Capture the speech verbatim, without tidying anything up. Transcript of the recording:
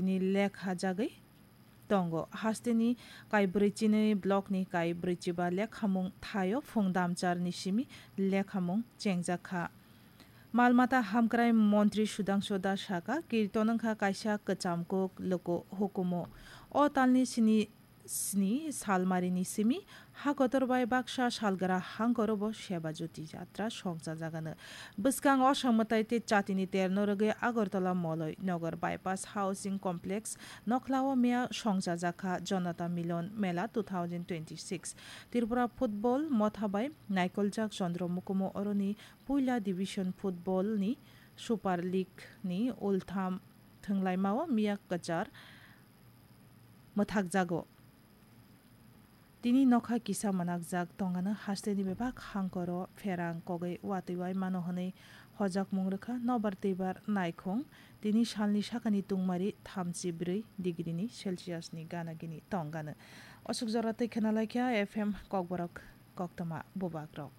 ni lekha jagwi tongo. Hasteni kaibrwi chinwi blockni kaibrwi chiba lekhamung thaio phung damcharni simi lekhamung chengjakha. Malmata hamkrai montri Sudhangshu Das sakha, Kirton wngkha kaisa kwcham kuk luku hukumu. O talni sini sni salmarini simi ha kotor bai baksa salgra hangkorobo Seba Jyoti Jatra songchajagano. Bwskang o samwtai tei chatini terno rwgwi Agartala Moloi Nogor Bypass Housing Complex nokhlao miya songchajakha Janata Milan Mela two thousand twenty-six. Tripura Football motha bai naikoljak Chandra Mukumu oroni puila division football ni Super League ni ultham thwnglaimao miya kwchar mwthakjago. Tini nokha kisa mwnakjak tongano hasteni bebak hangkoro pherang kogwi watwi wai mano hwnwi hojakmung rwkha nobar twibar naikhung. Tini salni sakani tungmari thamchi brwi degree ni Celsius ni gana gini tongano. Osuk jora twi khwnalaikha F M Kokborok koktwma bubagrok.